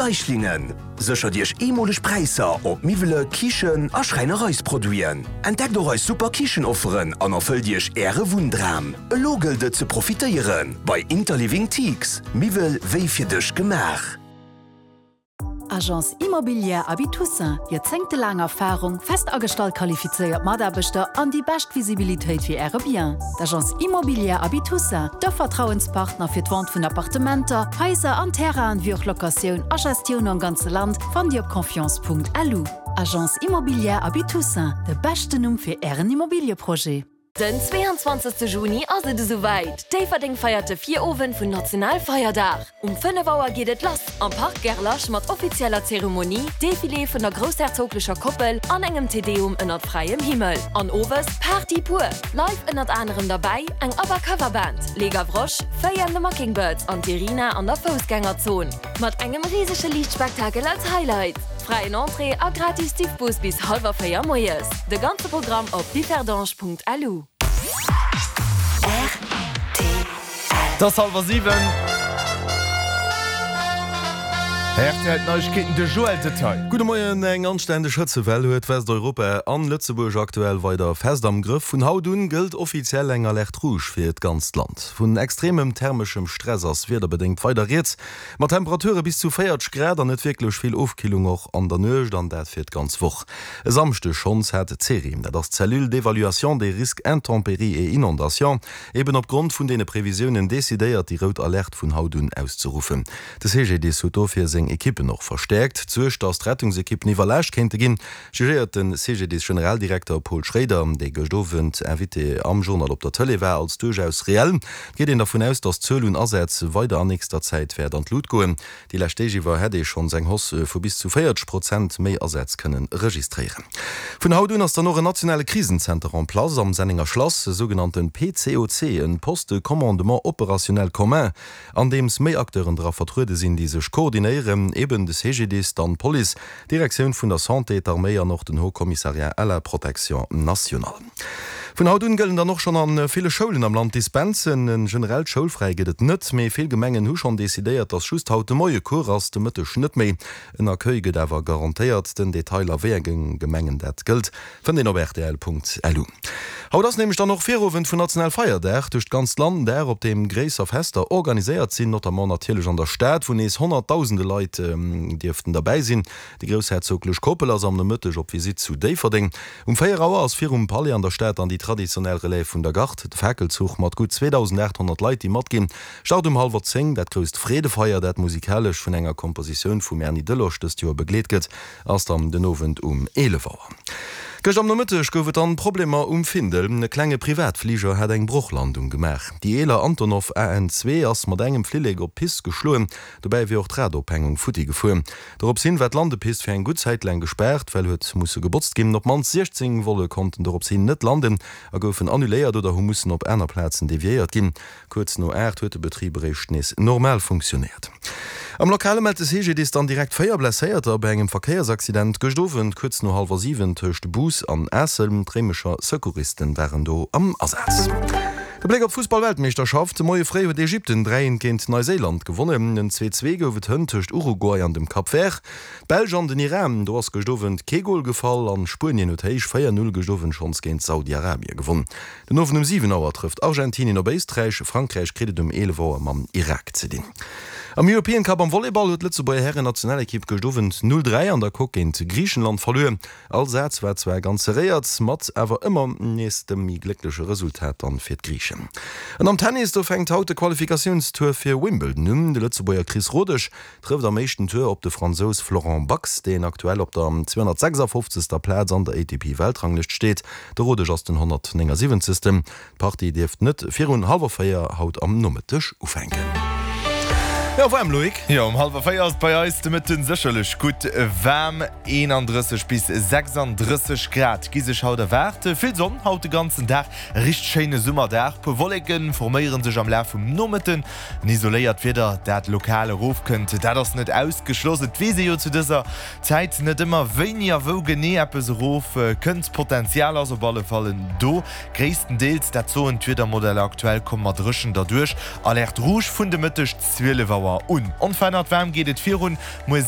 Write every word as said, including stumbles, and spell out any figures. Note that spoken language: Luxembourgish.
Geislingen. Séchert Iech eemoleg Präisser op Miwwele, Kichen a Schräinereisproduiten. Entdeckt och eis super Kichenofferen an erfëllt Iech Äre Wunndram. Elo gëllt et ze profitéieren bei Interliving Teaks. Miwwel wéi fir dech gemaach. Agence Immobilière Aby Toussaint, joerzéngtelaang Erfarung, fest agestallt qualifizéiert Mataarbechter an déi bescht Visibilitéit fir Äre Bien. D'Agence Immobilière Aby Toussaint, de Vertrauenspartner fir d'Vente vun Appartementer, Haiser an Terrainen, wéi och Locatioun a Gestioun am ganze Land, fannt Dir op confiance Punkt L U. Agence Immobilière Aby Toussaint, de beschten Numm fir Ären Immobilieprojet. Den zweeanzwanzegste Juni ass et esouwäit, Déifferdeng feiert de Virowend vun Nationalfeierdag. Um fënnef Auer geet et lass am Park Gerlach mat offizieller Zeremonie, Defilé vun der groussherzoglecher Koppel an engem Te Deum ënnert fräiem Himmel. An owes Party pur! Live ënnert anerem derbäi eng ABBA Coverband, Les Gavroches, Fay and the Mockingbirds an d'Irina an der Foussgängerzon. Mat engem risege Liichtspektakel als Highlight. Fräien Entrée a gratis Diffbus bis hallwer véier moies. De ganze Programm op differdange Punkt L U. Et ass hallwer siwen. R T L Neiegkeeten, de Joël Detail. Gudde Moien, Eng anständeg Hëtzewell huet Westeuropa an Lëtzebuerg aktuell weider fest am Grëff. Vun haut un gëllt offiziell eng Alerte rouge fir d'ganzt Land. Vun extremem thermeschem Stress ass wiederbedéngt weider rieds, mat Temperature bis zu véierzeg Grad an net wierklech vill Ofkillung och an der Nuecht, an dat fir d'ganz Woch. E Samschdeg schonns hat d'CERIM, dat ass d'Cellule d'évaluation des risques intempéries et inondations, eben opgrond vun deene Previsiounen decidéiert, déi rout Alerte vun haut un auszeruffen. De C G D I S huet dofir seng Ekippen och verstäerkt. D'Suerg, datt d'Rettungsekippen iwwerlaascht kéinte ginn, jugéiert de C G D I S-Generaldirekter Paul Schrader, dee gëscht Owend Invité am Journal op der Tëlee war, als duerchaus reell. Et geet een dervun aus, datt d'Zuel un Asätz weider an nächster Zäit wäert an d'Lut goen. Déi lescht Deeg iwwer hätt ee schonns eng Hausse vu bis zu véierzeg Prozent méi Asätz kënnen registréieren. Vun haut un ass dann och en nationale Krisenzenter en place am Sennenger Schlass, e sougenannte P C O C, en Poste de commandement opérationnel commun, an deems méi Acteuren dra vertruede sinn, déi sech koordinéieren, eben de C G D I S, dann d'Police, d'Direktioun vun der Santé, d'Arméi an och den Haut Commissariat à la Protection nationale. Vun haut un gëllen dann och schonn a ville Schoulen am Land Dispensen. En generellt Schoulfräi gëtt et net, mee vill Gemengen hu schonn decidéiert, datt just haut de Moie Cours ass, de Mëtteg net méi. En Accueil gëtt awer garantéiert. Den Detail a wéi enge Gemengen dat gëllt, fënnt een op R T L Punkt L U. Haut ass nämlech dann och Virowend vun Nationalfeierdag duerch d'ganzt Land, Dag op deem gréisser Fester organiséiert sinn, notamment natierlech an der Stad, wou nees honnertdausende Leit dierften derbäi sinn. Déi groussherzoglech Koppel ass am Nomëtteg op Visitt zu Déifferdeng. Um véier Auer ass virum Palais an der Stad dann déi traditionell Relève vun der Garde, de Fakelzuch mat gutt zweedausendaathonnert Leit, déi matginn, start um hallwer zéng. Dat grousst Freedefeier, dat musikalesch vun enger Kompositioun vum Erny Delosch dëst Joer begleet gëtt, ass dann den Owend um eelef Auer. Gëscht am Nomëtteg gouf et dann Problemer um Findel. E klenge Privatfliger hat eng Brochlandung gemaach. Déi eeler Antonov A N zwee ass mat engem Flillek op d'Pist geschloen, dobäi wier och d'Radophängung futti gefuer. Dorops hin war d'Landepist fir eng gutt Zäit laang gespaart, well huet musse gebotzt ginn. Op d'mannst siechzéng Volle konnten dorops hin net landen a goufen annuléiert oder hu mussen op aner Plazen deviéiert ginn. Kuerz no aacht huet de Betrib eréischt nees normal funktionéiert. Am Lokale mellt de C G D I S dann direkt véier Blesséierter bei engem Verkéiersaccident gëscht Owend kuerz no hallwer siwen tëscht Bous an Aassel. D'Réimecher Secouristen waren do am Asaz. De Bléck op d'Fussball-Weltmeeschterschaft, De Moie fréi huet Ägypten dräi eent géint Neuséiland gewonnen. En zwee zwee gouf et hënt tëscht Uruguay an dem Cap Vert. D'Belsch an den Iran, do ass gëscht Owend kee Gol gefall an Spuenien huet héich véier null gëscht Owend schonns géint Saudi-Arabie gewonn. Den Owend um siwen Auer trëfft Argentinien op Éisträich, Frankräich kritt et um eelef Auer mam Irak ze dinn. Am European Cup am Volleyball huet d'Lëtzebuerger Hären-Nationalekipp gëscht Owend null dräi an der Coque géint Griichenland verluer. All Saz war zwar ganz serréiert, mat awer ëmmer nees dem méi gléckleche Resultat dann fir d'Griichen. An am Tennis, do fänkt haut de Qualifikatiounstour fir Wimbledon un. De Lëtzebuerger Chris Rodesch trëfft am éischten Tour op de Fransous Florent Bax, deen aktuell op der zweehonnertsechsafofzegster Plaz an der A T P-Weltranglëscht steet. De Rodesch ass den honnertnéngasiwwenzegsten. D'Partie dierft net virun hallwer véier haut am Nomëtteg ufänken. Jo, waarm, Loïc? Jo, um hallwer véier ass et bei eis de Mëtten sécherlech gutt waarm. eenandrësseg bis sechsandrësseg Grad gi sech haut erwaart. Vill Sonn haut de ganzen Dag, e richteg schéine Summerdag. Puer Wolleke forméiere sech am Laf vum Nomëtten. En isoléiert Wieder, dat lokal erofkënnt, dat ass net ausgeschloss. Et weess ee jo zu dëser Zäit net ëmmer, wéini a wou genee eppes erofkënnt. D'Potenzial ass op alle Fall do. Gréisstendeels, dat soen d'Wiedermodeller aktuell, komme mer dréchen derduerch. Alerte rouge vun de Mëtteg zwielef Auer un. Onverännert waarm geet et virun. Muer.